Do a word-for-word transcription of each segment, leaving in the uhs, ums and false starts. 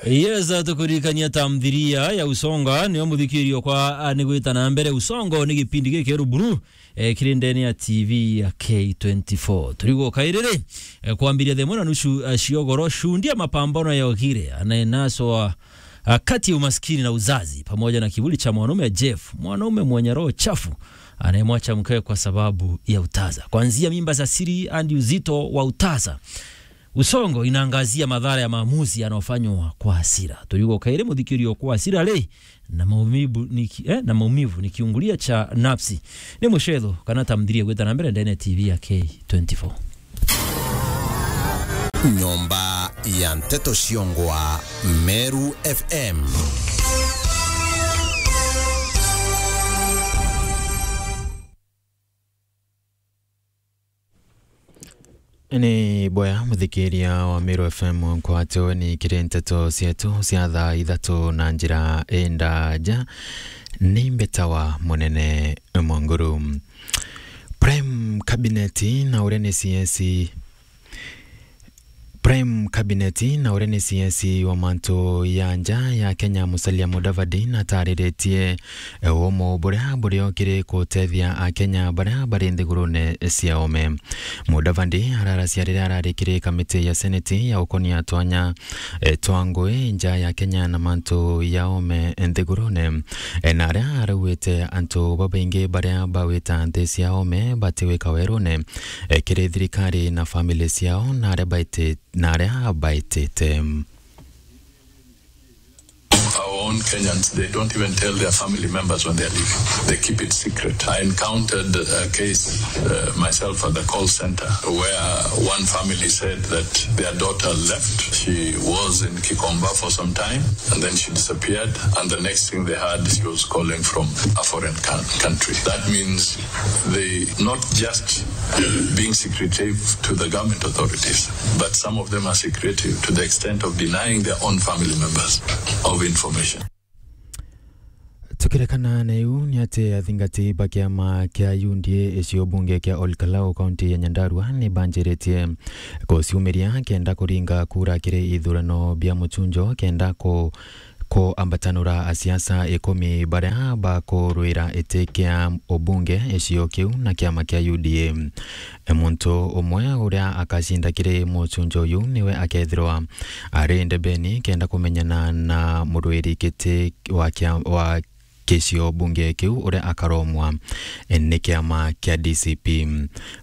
Yes, tukuririkania tamthilia ya Usonga, niyo muthikirio kwa, a, ni gwita na mbere. Usongo ni gipindi gikeru buru, eh, kiri ndene ya T V ya K twenty-four. Turigwo kairiri, eh, kwambiria thaa imwe na nusu, eh, ciogoro, shundia mapambano ya Ogire, anayenaswa, ah, kati ya umaskini na uzazi, pamoja na kivuli cha mwanaume Jeff, mwanaume mwenye roho chafu, anayemwacha mkewe kwa sababu ya utaza. Kuanzia mimba za siri hadi uzito wa utaza. Usongo inaangazia madhara ya maamuzi yanayofanywa kwa hasira. Turigwo kairi muthikirio kwa hasira ri, na maumivu ni ki-, eh, na maumivu ni kiungulia cha nafsi. Ni mucetho kana tamthilia gwita na mbere ndene ya T V ya K twenty-four. Nyomba ya Nteto Ciongwa, Meru F M. Ni boya muthikiria wa Meru F M nkwatwe ni kiri nteto cietu cia thaa ithatu na njira indaja. Ni mbetawa Munene Mwanguru. Prime Cabinet na uria ni C S, Prime Cabinet na uria ni C S wa mantu ya nja ya Kenya, Musalia Mudavadi, natariritie umo buria buriokire kutethia Akenya baria bari nthigurune cia ome. Mudavadi araracia riria arari kiri kamiti ya Seneti ya ukonia twanya, eh, twa ngui nja ya Kenya na mantu ya ome nthigurune. Eh, na aria arauite antu babaingi baria bawita nthi cia ome batiwika werune, eh, kiri thirikari na family ciao na aria baiti-, na aria baitite. Our own Kenyans, they don't even tell their family members when they are leaving. They keep it secret. I encountered a case, uh, myself at the call center where one family said that their daughter left. She was in Kikomba for some time and then she disappeared. And the next thing they heard, she was calling from a foreign coun-, country. That means they not just being secretive to the government authorities, but some of them are secretive to the extent of denying their own family members of information. Tukirekana na iu, ni ati athingati ba kiama kia U D A icio bunge kia Ol Kalou, kaunti ya Nyandarua, ni banjiritie kuciumiria kenda kuringa kura kiri ithurano bia muchunjo, kenda ku-, kuambatanura asiasa ikumi baria bakurwira iti kia ubunge icio kiu na kiama kia U D A. Muntu umwe uria akacinda kiri muchunjo uyu niwe akethirwa ari ndebeni kenda kumenyana na murwiri giti wa kia-, wa gicio bunge kiu uria akaromwa ni kiama kia D C P.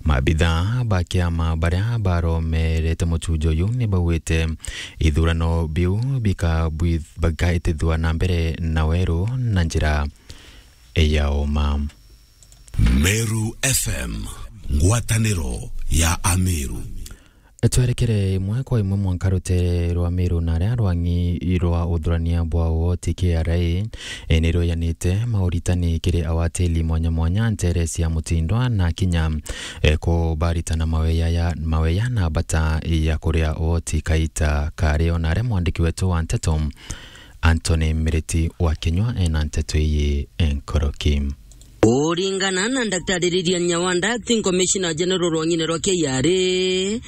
Maabitha ba kiama baria baromerete muchunjo uyu ni baugite ithurano biu bikabwi-, bikaitithua na mbere na weru na njira ya uma. Meru F M, ngwataniro ya Ameru. Twerekere imwe kwa imwe mwanka rutere rwa Meru na aria rwang'i rwa uthurania bwa woti K R A, e, ni rweyanite mauritani kiri awatili mwanya mwanya ntere cia mutindwa na kinya, e, kubaritana maweya ya, maweya na bata ya kuria woti kaita kario. Na aria mwandiki wetu wa nteto Anthony Miriti wa Kinyua ena nteto iyi enkoroki. Kuringana na Daktari Lilian Nyawanda, Acting Commissioner General rwang'ine rwa K R A,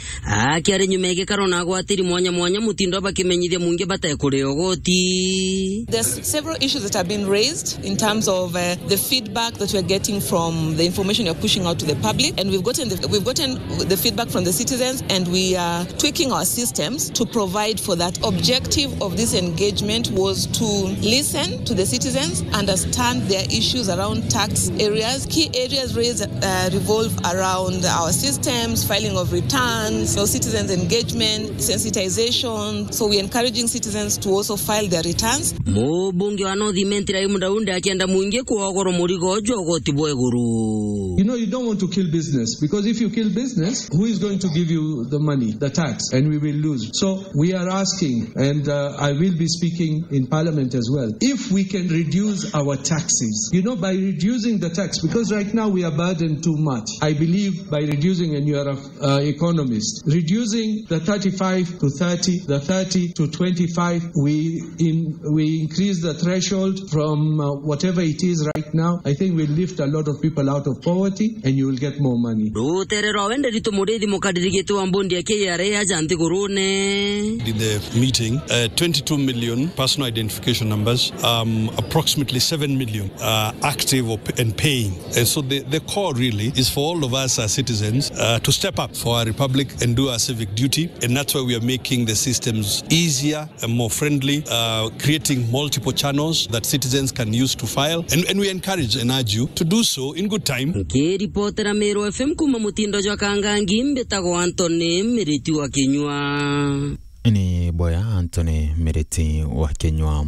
akiari nyuma ya gikaro na agwatiri mwanya mwanya mutindo bakimenyithia mwingi batekuria ugoti. There's several issues that have been raised in terms of, uh, the feedback that we are getting from the information we are pushing out to the public, and we've gotten the, we've gotten the feedback from the citizens, and we are tweaking our systems to provide for that. Objective of this engagement was to listen to the citizens, understand their issues around tax areas. Key areas raised, uh, revolve around our systems, filing of returns, you know, citizens engagement, sensitization. So we're encouraging citizens to also file their returns. Mubunge wa North Imenti Raymond Aunda akienda mwingi kuogorwa murigo jwa ugoti bwa iguru. You know, you don't want to kill business, because if you kill business, who is going to give you the money, the tax? And we will lose. So we are asking, and, uh, I will be speaking in Parliament as well, if we can reduce our taxes, you know, by reducing the tax, because right now we are burdened too much. I believe by reducing, and you are a uh, economist. Reducing the thirty-five to thirty, the thirty to twenty-five, we in-, we increase the threshold from, uh, whatever it is right now. I think we'll lift a lot of people out of poverty and you will get more money. Rutere rwa wende ritu murithi mukaririgite wa mbondi ya K R A aja nthigurune. In the meeting, uh, twenty-two million personal identification numbers, um, approximately seven million are active or p-, and paying. And so the, the call really is for all of us as citizens, uh, to step up for our republic and do our civic duty. And that's why we are making the systems easier and more friendly, uh, creating multiple channels that citizens can use to file. And, and we encourage and urge you to do so in good time. Nkiripotera Meru F M kuma mutindo jwa Kangangi, mbitagwa Anthony Miriti wa Kinyua. Ni boya Anthony Miriti wa Kinyua.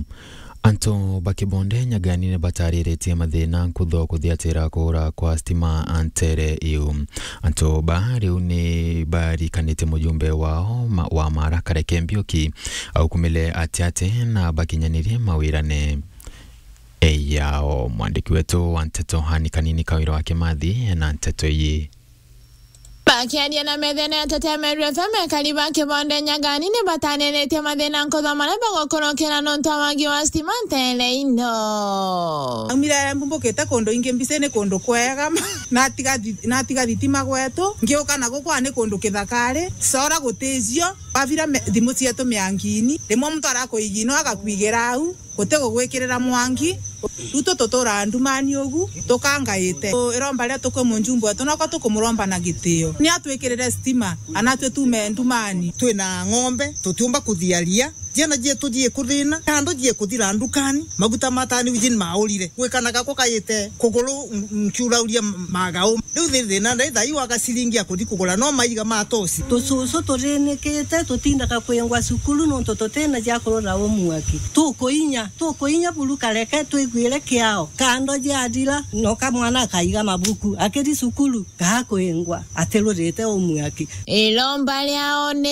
Antu ba Kibonde Nyagani ni batariritie mathina nkutho kuthiatira kuura kwa stima ntere iu. Antu ba riu ni barikanitie mujumbe wao ma-, wa Mara Kareke Mbiuki aukumile atiati na bakinyanirie mawirane yao. Mwandiki wetu wa nteto Hani Kanini Kawira wa Kimathi ena nteto iyi. Bakiaria na methene ya Tetemeru F M, ekari ba Kibonde Nyagani ni bataniritie mathina nkutho maria bagukurukira nontu wa wagi wa stima ntere ino. Aumire mbumbukite kundu ingi mbisi ni kundu kwega, natiga thi-, natiga thitima gwetu, ngiuka na guku ni kundu kithakari, sora guticio, wavira me-, thimu cietu miangini, rimwe muntu arakuigino agakwigira au. Guti gugwikirira mwangi, riu tu tuturaga ndumani ugu, tukangaite. Iromba riria tukwi mujumbe wetu, noko tukumuromba na gitio. Ni atwikirire stima, anatwe tume ndumani. Twina ng'ombe, tutiumba kuthiaria. Ciana cietu ciikuthina, kando ciekuthira ndukani, maguta ma tani ujin maurire. Gwikana gakwa kaite kuguru, m-, nkiurauria magau. Riu thi-, thina ndai thai wa gaciringi ya kuthi kugura, no maiga ma tosi. Tucucu turinikite, tutindaga kwingwa cukuru nontu tutina cia kurura umwaki. Tukuinya, tukuinya buru kareke twiguire kiao. Kando ciathira, noka mwana akaiga mabuku, akiri cukuru, gakwingwa, atirurite umwaki. Iromba riao ni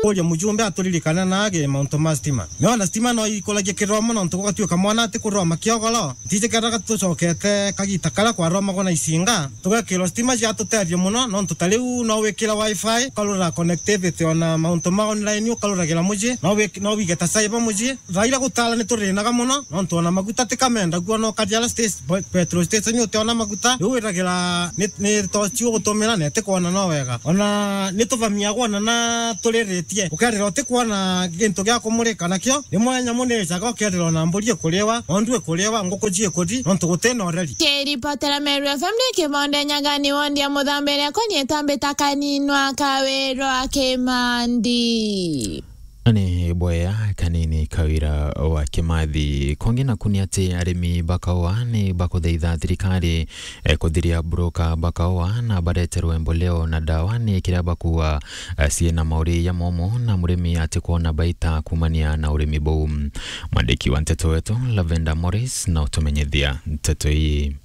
kuria mujumbe aturirikane nage mauntu ma stima. Niona stima no ikuragia kiroma nontu gugatuika mwana atikuroma kiogoro. Ntiji kethira tucokete kagita karia kwaromagwa na icinga, tugekirwa stima ciatutethia mono, nontu ta riu no wikire wifi, ukarora connectivity, ona mauntu ma online ukaruragira mucii, no wik-, no wige ta cyber mucii. Thaa iria gutara ni turinaga mono, nontu ona maguta ti kamenda, guo no ukathi aria station, pe-, petrol station utiona maguta, riu wiragira ni, ni tochi ugutumira na itikwona no wega. Ona ni tuvamiagwa ona na turiritie, ukerira utikwona gintu gia kumurika nakio, rimwe nyamu ni ijaga ukerira ona mburi ikuriwa, ng'ondu ikuriwa, nguku ciikuthi, nontu gutina ureri. Kiripotera Meru F M ni Kibonde Nyagani wondi ya Muthambiri akwa ni itambita kaninwa Kawirwa Kimandi. Ni boya Kanini Kawira wa Kimathi. Kungi naku ni ati arimi ba kaua ni bakuthaitha thirikari, eh, kuthiria broker ba kaua na bareterwe mboleo na dawa ni kiria bakuwa, eh, ciina mauri jamomo na murimi atikwona baita kumania na urimi buu. Mwandiki wa nteto wetu Lavender Morris na utumenyithia nteto ii.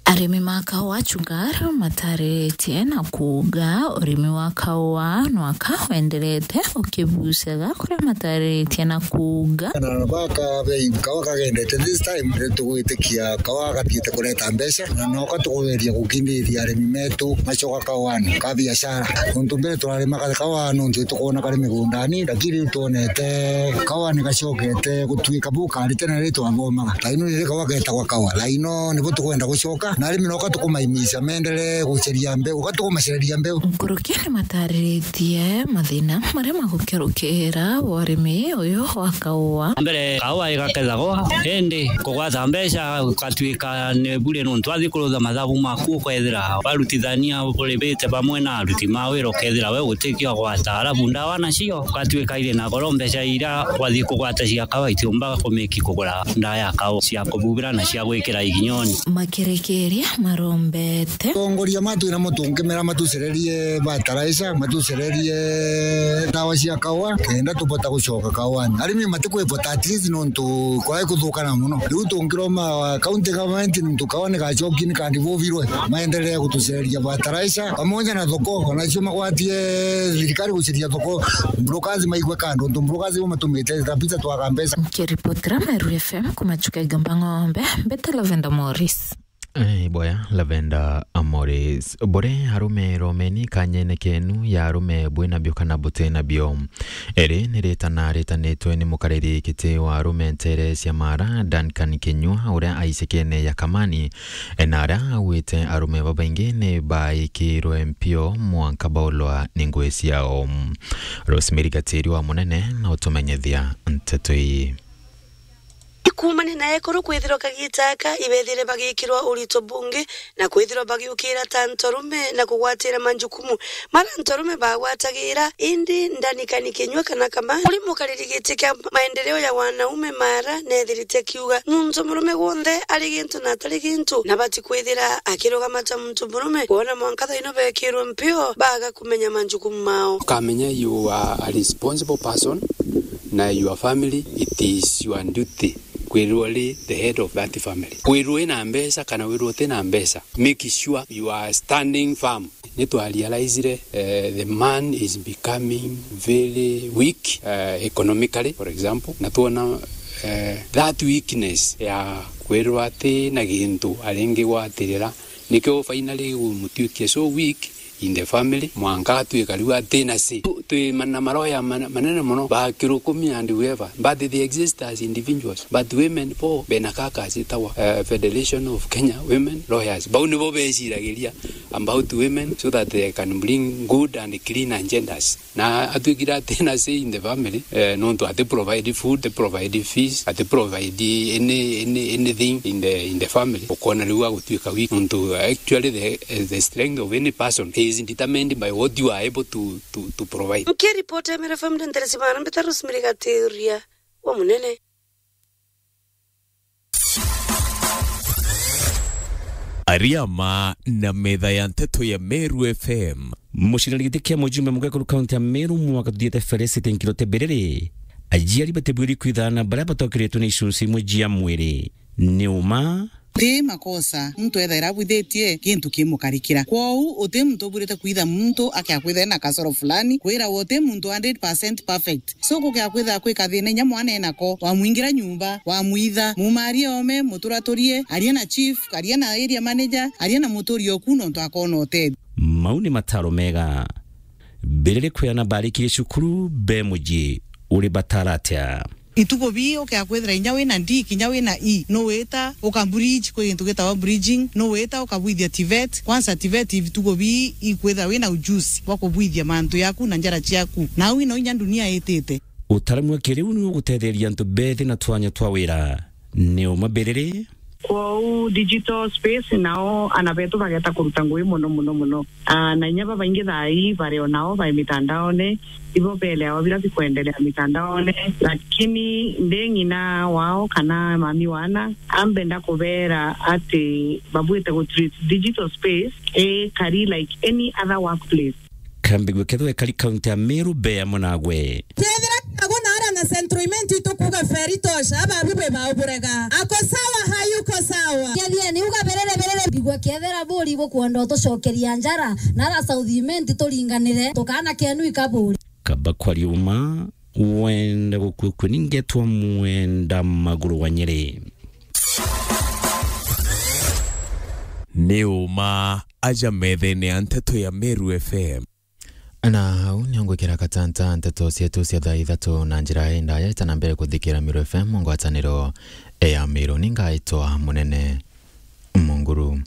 Arimi ma kaua Chugar mataritie na kuuga urimi wa kaua nwaka wenderete ukibucaga kuria mataritie na kuuga. Na baka bei kaua kagendete this time, ni tugwitikia kaua gathiite kureta mbeca, na noka tukugeria gukindiria arimi metu macoka kauani ka biashara. Untu mbere turarimaga kaua nontu tukwona kari migundani, lakini riu twonete kaua ni gacokete gutuika bu kari tene riria twathomaga. Laino riri kaua getagwa kaua. Laino nibo tukwenda gucoka, na arimi noka tukumaimisha meenderee guceria mbeu, uka tukumacereria mbeu. Nkuruki ni matariritie mathina maria magukerukira urimi uyu wa kaua. Mbere kaua igakethagwa, indi kugwata mbeca gukatuika ni bure nontu wathi kurutha mathabu maku ukethira warutithania uribite bamwe na aruti ma wira, ukethira we gutikio gwata, alafu ndawa nacio ugatuika iri na goro, mbeca iria wathi kugwata cia kaua itiumba kumiki kugura ndawa ya kaua cia kububira na cia gwikira iginyoni. Makirekeria marombete. Atongoria matu na mutungimira matucererie fertilizer, matucererie ndawa cia kaua, kenda tubota gucoka kauani. Arimi matikwivota at least nontu kwai kuthukana mono. Riu tungiroma county government nontu kaua ni gacoki ni kandi bubirwe, maendelee gutucereria fertilizer pamoja na thoko, onacio magwatie thirikari guceria thoko, brokers maigwe kando, nontu brokers bo matumite kabisa twaga mbeca. Nkiripotera Meru F M kuma Chuka Igamba Ng'ombe, mbete Lavender Morris. Eh, boya, Lavender Morris. Bure arume romeni kanyene kenu ya arume bwina bio kana butina bio. Eri ni ritana ritanitwe ni mukariri giti wa arume ntere cia Mara, Duncan Kinyua, uria aicikene ya Kamani, e, na aria augite arume babaingi ni baikirwe mpio mwanka baulwa ni ngui ciao. Rosemary Gatiri wa Munene na utumenyethia nteto ii. Kuumania na ekuru kwithirwa kagiita aka ibethire bagikirwa urito bungi na kwithirwa bagiukira ta ntorume na kugwatira manjukumu mara ntorume bagwatagira, indi Duncan Kinyua kana Kamani, uri mukariri giti kia maendeleo ya wanaume Mara, nethirite akiuga muntu murume gwonthe ari gintu na atari gintu na bati kwithira akirugama ta muntu murume, kwona mwanka thaino bekirwe mpio baga kumenya manjukumu mao. Ukamenya you are a responsible person na your family, it is your duty kwirwa ri the head of that family. Kwirwa ina mbeca kana wirwa utina mbeca, make sure you are standing firm. Ni twa realizire, eh, the man is becoming very weak, eh, economically, for example, na twona, eh, that weakness ya kwirwa ati na gintu aringi gwatirira, nikio finally gumutuikia so weak in the family, mwanka atwika riu atina si. Tu-, twi ma-, na maroya mana-, manene mono, ba Kirukumi and whoever, but they exist as individuals. But women for Benakaka citagwa, eh, Federation of Kenya Women Lawyers. Bau nibo beciragiria about women so that they can bring good and clean agendas. Na atwikire atina say in the family, eh, nontu ati provide food, ati provide fees, ati provide any, any, anything in the, in the family. Ukona riu agutwika weak. Nontu actually the, the strength of any person is determined by what you are able to, to, to provide. Nkiripoti ya Meru F M, nderesimana mbita Rosemary Gatiria wa Munene. Ariama na metha ya nteto ya Meru F M. Mucinari giti kia mujumbe mugekuru kaunti ya Meru mwaka tuthiete Felicity Nkirote Biriri, aciari batibwiri kwithana baria batokeretwe ni icunci imwe cia mwiri. Ni uma? Ti makosa muntu ethaira abwithitie gintu kimukarikira. Kwou uti muntu ubwirite kwitha muntu akiakwitha ena kasoro fulani, kwira uti muntu hundred percent perfect. So, gukea kwithira kwika thina inya mwana enako, wamwingira nyumba, wamwitha, mumarie ome, muturaturie, aria na chief, aria na area manager, aria na muturi oku nontu akona utethio. Mau ni mataro mega. Biriri kwiana barikirie cukuru, be mucii, uri batara atia? Itugo bii ukea kwithira inya wina D, kinya wina E, nuwita uka bridge, kwi gintu gitagwa bridging, nuwita ukabwithia TVET. Kwanza TVET itugo bii ikwithira wina ujuzi bwa kubwithia mantu yaku na njara ciaku. Na au ino inya dunia itite. Utaaramu wa kiriu ni ugutetheria antu bethi na twanya twa wira. Ni uma Biriri? Kwou digital space nao ana betu bageta kuruta ngui mono, mono, mono. Ah, na inya babaingi thaa ii bari o nao bai mitandaone, ibo beleawa bira bikwendelea mitandaone. Lakini ndi ng'ina wao kana mami wana, ambenda kubera ati babwite gu treat digital space ikari like any other workplace. Kambigwe kethwe kari kaunti ya Meru be amwe nagwe. Kethira kago na ara na Central Imenti itukuga Feri tosha, ababi bwe bauburega. Ako sawa, hayuko sawa. Kethia ni uga Biriri, Biriri, bigwa kethira buri bukwenda utucokeria njara, na ara South Imenti turinganire, tukana kenu ikaburi. Kaba kwa riuma, wenda gukua kwe ningetwa mwenda maguru wa Nyeri. Ni uma aja methene ya nteto ya Meru F M. Na au nio ngwikira katanta nteto cietu cia thaa ithatu na njira indaya itana mbere kuthikira Meru F M ngwataniro ya Meru. Ni ngaitwa Munene Munguru.